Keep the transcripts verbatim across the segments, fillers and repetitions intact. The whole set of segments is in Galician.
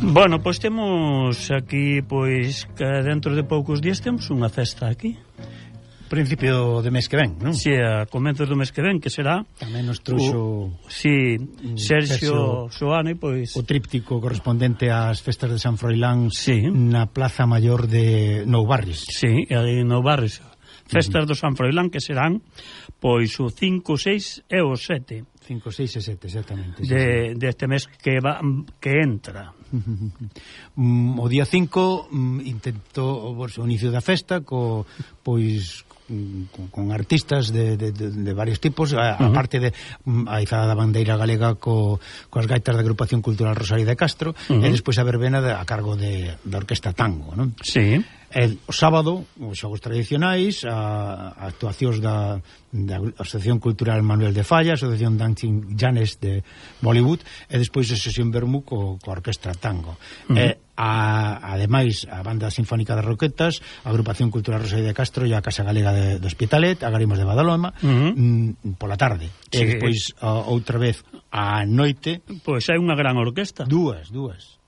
Bueno, pois temos aquí, pois, que dentro de poucos días temos unha festa aquí. Principio de mes que ven, non? Si, a comenzos do mes que ven, que será... Tamén nos trouxo... Si, Sergio Soane, pois... O tríptico correspondente ás festas de San Froilán, sí, na Plaza Maior de Nou Barris. Si, aí en Nou Barris. Festas uh-huh. do San Froilán, que serán, pois, o cinco, seis e o sete. cinco, seis e sete, exactamente. De, sí, deste mes que va, que entra. um, o día cinco um, intento o inicio da festa co, pois con, con artistas de, de, de, de varios tipos, a, uh-huh. a parte de um, a izada da bandeira galega co, coas gaitas da Agrupación Cultural Rosario de Castro, uh-huh. e despois a verbena de, a cargo de, da Orquesta Tango, non? Sí. El, o sábado, os xogos tradicionais, a, a actuacións da, da Asociación Cultural Manuel de Falla, a Asociación Dancing Janes de Bollywood, e despois a sesión Bermú co, co Orquestra Tango. Uh-huh. E, a, ademais, a Banda Sinfónica de Roquetas, a Agrupación Cultural Rosario de Castro e a Casa Galega de, do Hospitalet, a Garimos de Badalona, uh-huh. m, pola tarde. Sí. E despois, a, outra vez, a noite... Pois hai unha gran orquesta. Dúas, dúas.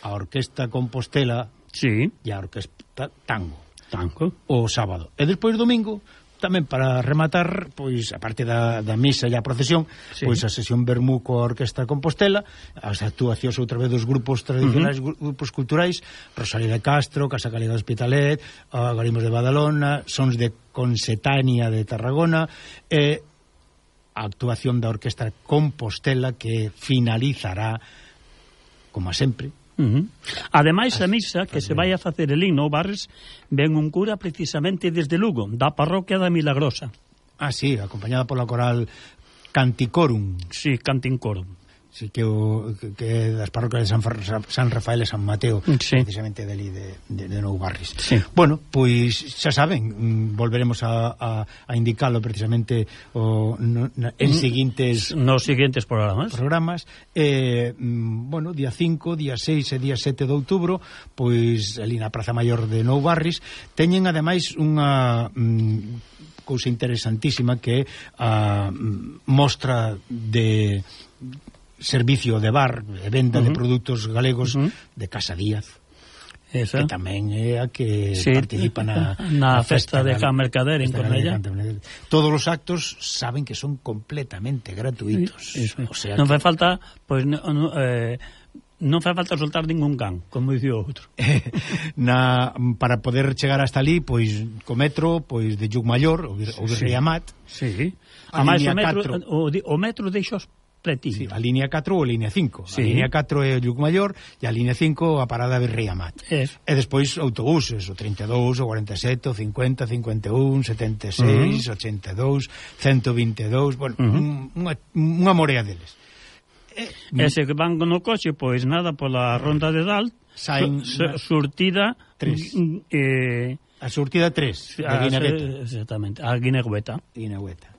A Orquesta Compostela... Sí. E a Orquesta Tango. Tango. O sábado. E despois domingo, tamén para rematar, pois, a parte da, da misa e a procesión, sí, pois a sesión Bermú coa Orquesta Compostela, as actuacións outra vez dos grupos tradicionais, uh-huh. grupos culturais, Rosario de Castro, Casa Galega do Hospitalet, a Garimos de Badalona, Sons de Consetania de Tarragona, e a actuación da Orquesta Compostela que finalizará, como a sempre, Uh-huh. Ademais, a misa que se vai a facer el himno Barres, ven un cura precisamente desde Lugo, da parroquia da Milagrosa. Ah, sí, acompañada pola coral Canticorum. Sí, Canticorum. Sí, que o que das parroquias de San, San Rafael e San Mateo, sí, precisamente dali de, de, de Nou Barris. Sí. Bueno, pois xa saben, volveremos a, a, a indicarlo precisamente o, no, na, en seguintes nos seguintes programas. Programas. Eh, bueno, día cinco, día seis e día sete de outubro, pois ali na Praza Maior de Nou Barris teñen ademais unha mm, cousa interesantísima que é a mostra de servicio de bar e venda uh-huh. de produtos galegos uh-huh. de Casa Díaz. Esa. Que tamén é a que sí, participa na, na, na festa, festa de Can Mercader en Cornellá. Todos os actos saben que son completamente gratuitos. Eso, o sea non que... fai falta, pois no, no, eh, non fai falta soltar ningún can, como dicía o outro. na, para poder chegar hasta ali, pois co metro, pois de Llucmaior, o, o Virrey Amat. Sí. A, a máis o metro, o, o metro deixos pretinho. Sí, a línea catro ou a línea cinco. Sí. A línea catro é o Llucmaior e a línea cinco a parada Virrey Amat. Es. E despois autobuses, o trinta e dous, o cuarenta e sete, o cincuenta, cincuenta e un, setenta e seis, uh-huh. ochenta e dous, ciento vinte e dous, bueno, uh-huh. unha, unha morea deles. E, ese que van no coche, pois nada, pola ronda de Dalt, saen su, su, surtida tres. Eh, a surtida tres, a Guinegueta. Exactamente, a Guinegueta. Guinegueta.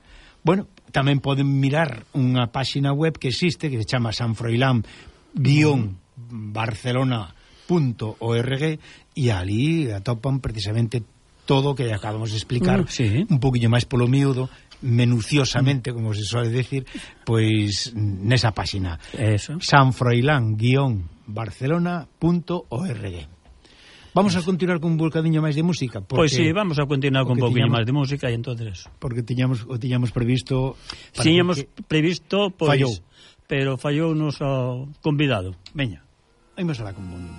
Bueno, tamén poden mirar unha páxina web que existe, que se chama sanfroilán guión barcelona punto org, e ali atopan precisamente todo o que acabamos de explicar, uh, sí, un poquinho máis polo miúdo, menuciosamente, como se suele decir, pois nesa páxina. Eso. sanfroilán guión barcelona punto org. Vamos a continuar con un volcadiño máis de música. Pois pues sí, vamos a continuar con un poquinho máis de música e entonces... Porque tiñamos, o tiñamos previsto... Tiñamos previsto, pois... Fallou. Pero fallou nos o convidado. Veña, imos alá con un...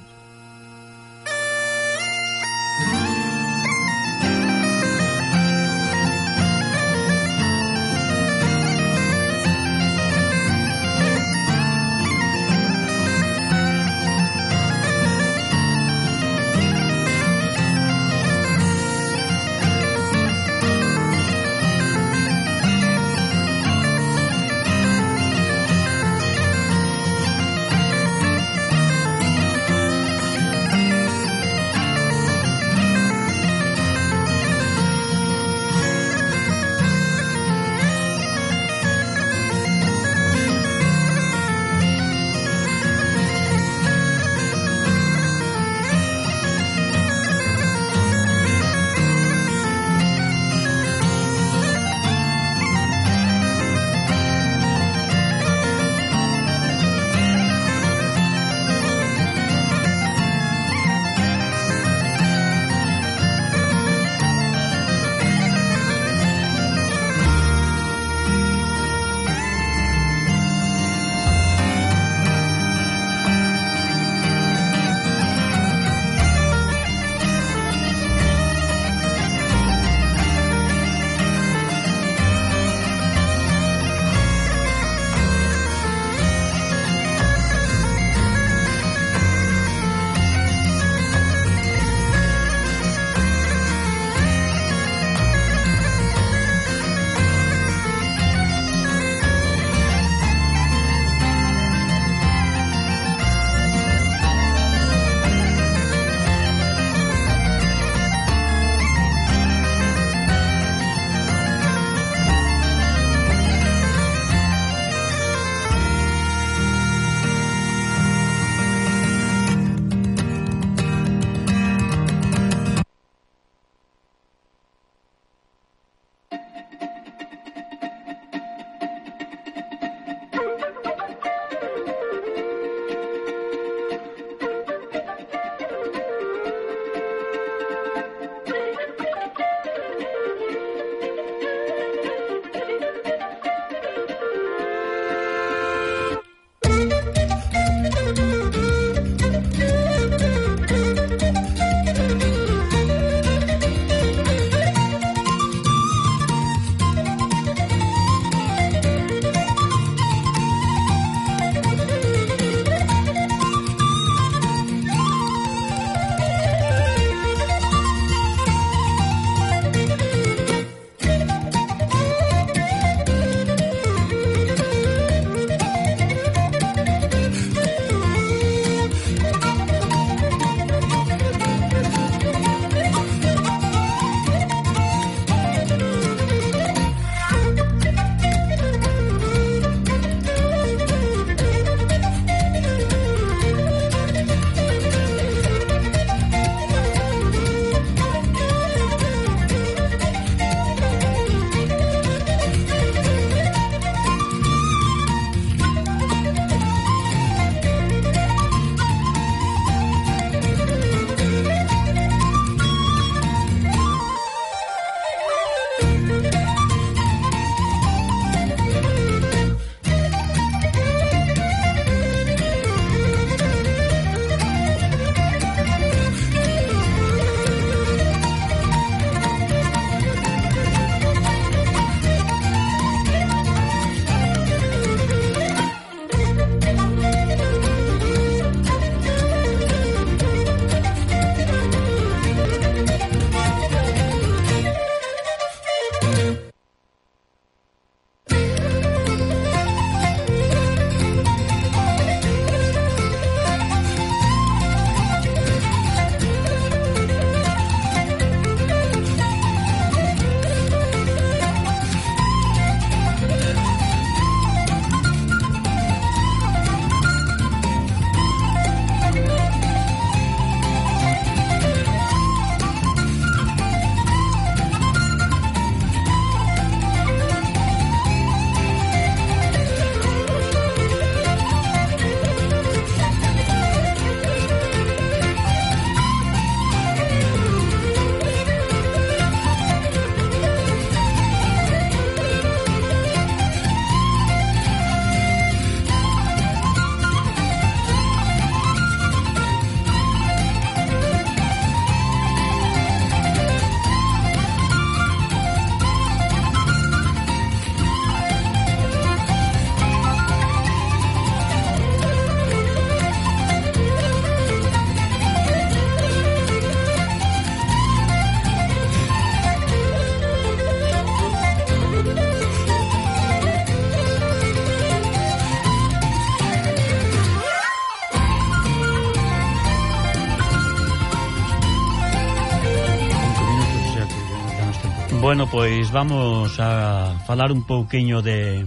Bueno, pois vamos a falar un pouquiño de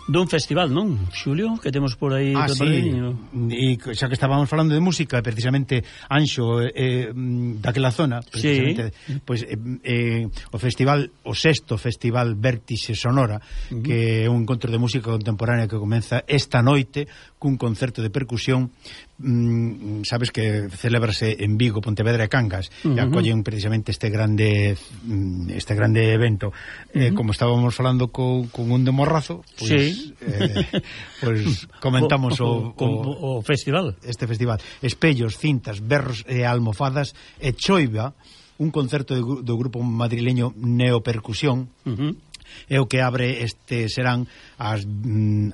dun festival, non, Xulio, que temos por aí. Ah, sí, e xa que estábamos falando de música, precisamente Anxo eh, daquela zona, precisamente, sí. Pois eh, eh, o festival, o sexto festival Vértixe Sonora, uh -huh. que é un encontro de música contemporánea que comeza esta noite cun concerto de percusión. Mm, sabes que celébrase en Vigo, Pontevedra e Cangas, uh -huh. e acollen precisamente este grande este grande evento. Uh -huh. eh, como estábamos falando co, con un de Morrazo, pois pues, sí. eh, pues comentamos o, o, o, o festival. Este festival. Espellos, cintas, berros e almofadas e choiva, un concerto de, do grupo madrileño Neopercusión. Uh -huh. É o que abre este serán as,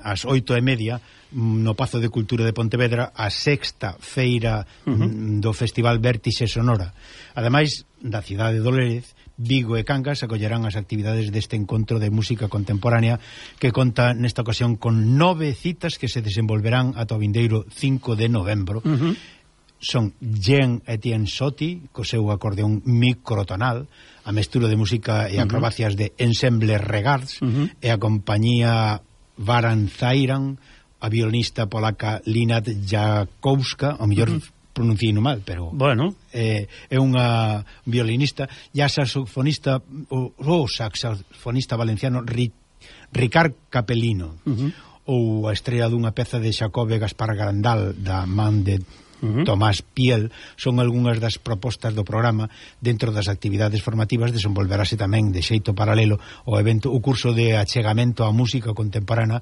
as oito e media no Pazo de Cultura de Pontevedra, a sexta feira uh -huh. do Festival Vértixe Sonora. Ademais da cidade de Lérez, Vigo e Cangas acollerán as actividades deste encontro de música contemporánea que conta nesta ocasión con nove citas que se desenvolverán ata o vindeiro cinco de novembro. Uh -huh. Son Jean Etienne Soti, co seu acordeón microtonal, a mestura de música e acrobacias uh -huh. de Ensemble Regards, uh -huh. e a compañía Varan Zairan, a violinista polaca Linat Jakowska, ao mellor uh -huh. pronunciei no mal, pero bueno, eh, é unha violinista, e a saxofonista o, o saxofonista valenciano Ri, Ricard Capelino, uh -huh. ou a estrela dunha peza de Xacobe Gaspar Grandal da man de Uh -huh. Tomás Piel, son algunhas das propostas do programa. Dentro das actividades formativas desenvolverase tamén de xeito paralelo o evento, o curso de achegamento á música contemporánea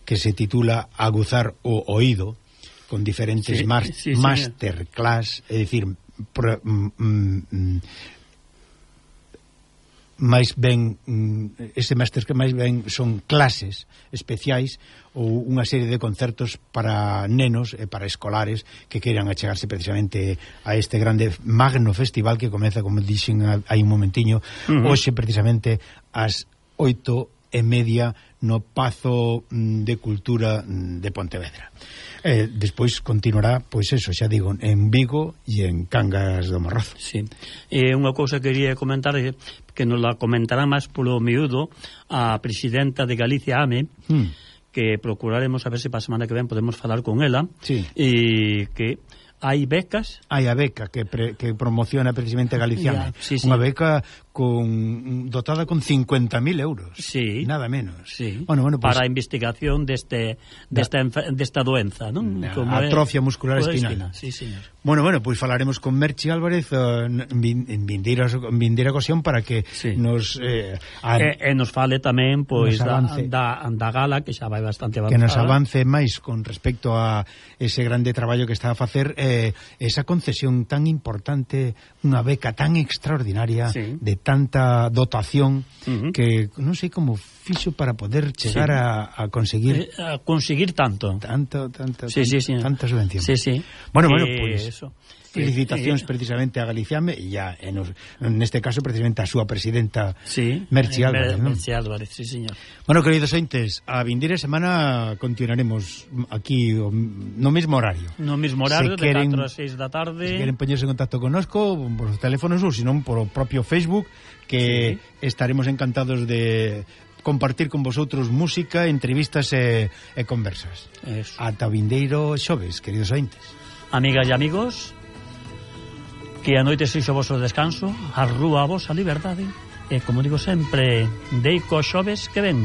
que se titula Aguzar o Oído, con diferentes sí, mas, sí, sí, masterclass, é dicir, pro, mm, mm, máis ben ese máster que máis ben son clases especiais ou unha serie de concertos para nenos e para escolares que queiran achegarse precisamente a este grande magno festival que comeza, como dixen hai un momentiño, uh -huh. hoxe precisamente ás oito e media no Pazo de Cultura de Pontevedra. Eh, despois continuará, pois eso, xa digo, en Vigo e en Cangas do Morrazo. Sí. E eh, unha cousa que quería comentar, que nos la comentará máis polo miúdo a presidenta de Galicia, A M E, mm. que procuraremos a ver se para a semana que ven podemos falar con ela, sí. e que hai becas. Hai a beca que, pre, que promociona precisamente a Galiciana. Yeah, sí, sí. Unha beca con dotada con cincuenta mil euros. Sí. Nada menos. Sí. Bueno, bueno, pues, para a investigación deste, desta, desta doenza, non? Como atrofia é, muscular espinal. Sí, señor. Bueno, bueno, pois pues falaremos con Merchi Álvarez uh, en vindeira ocasión para que sí. nos... Eh, a, e, e nos fale tamén, pois, da, da, da gala, que xa vai bastante avanzada. Que nos avance máis con respecto a ese grande traballo que está a facer, eh, esa concesión tan importante, unha beca tan extraordinaria, sí. de tanta dotación, uh -huh. que non sei como fixo para poder chegar sí. a, a conseguir eh, a conseguir tanto tanto, tanto, sí, tanto, sí, sí. tanta subvención. Sí, sí. Bueno, eh, bueno, pues eso. felicitacións eh, precisamente a Galiciame e ya en, neste caso precisamente a súa presidenta sí, Merchi Álvarez, Mer, ¿no? Merchi Álvarez, sí, señor. Bueno, queridos ointes, a vindeira semana continuaremos aquí no mesmo horario. No mesmo horario, se de queren, catro a seis da tarde. Se queren poñerse en contacto connosco por os teléfonos ou senón por o propio Facebook, que sí. estaremos encantados de compartir con vosotros música, entrevistas e, e conversas. Eso. Ata vindeiro xoves, queridos ointes. Amigas e amigos, que a noite sexo vosso descanso, a rúa a vosa liberdade, e, como digo sempre, deico xoves que ven.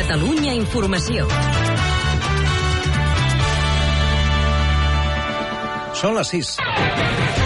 Catalunya Informació. Són les sis.